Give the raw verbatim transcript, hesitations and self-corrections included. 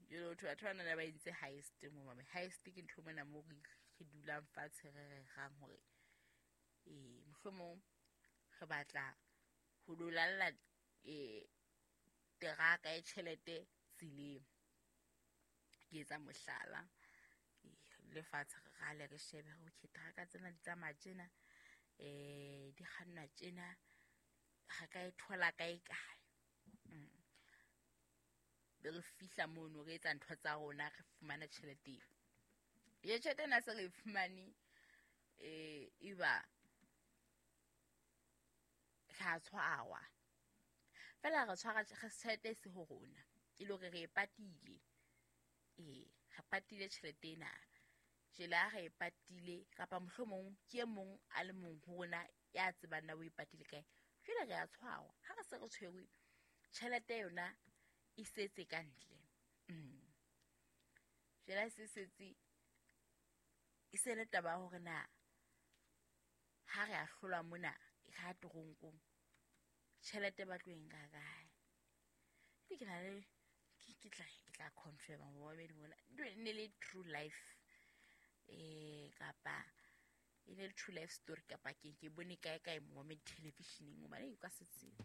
Jwale ho thwe batho bana ba entse heist mo mame. Heist ke ntho mona moo re re dulang fatshe re rerang hore eh mohlomong re batla ho lo lalla eh teraka ya tjhelete tseleng. Ke etsa mohlala, lefatshe re rale re shebe okay teraka tsena di tsamaya tjena, eh di kgannwa tjena, re ka e thola kae kae. Be re fihla mono re etsa ntho tsa rona, re fumana tjhelete eo. Ye tjhelete ena se re e fumane, eh eba ra tshwarwa. Feela re tshwara tjhelete e se ho rona, e le hore re e patile. Ee, re patile tjhelete ena. Jwale ha re e patile kapa mohlomong ke e mong a le mong ho rona ya tsebang na o e patile kae. Jwale re a tshwarwa. Ha re se re tshwerwe, tjhelete yona e setse ka ntle. Jwale ha se setse, e se le taba ya hore na ha re a hlolwa mona re ya toronkong, tjhelete ba tlo e nka kae? Ke na le ke tla ke tla confirm momamedi mona. E ne le true life eh kapa e ne le true life story kapa ke ke bone kae kae momamedi television-eng hobane o ka se tsebe.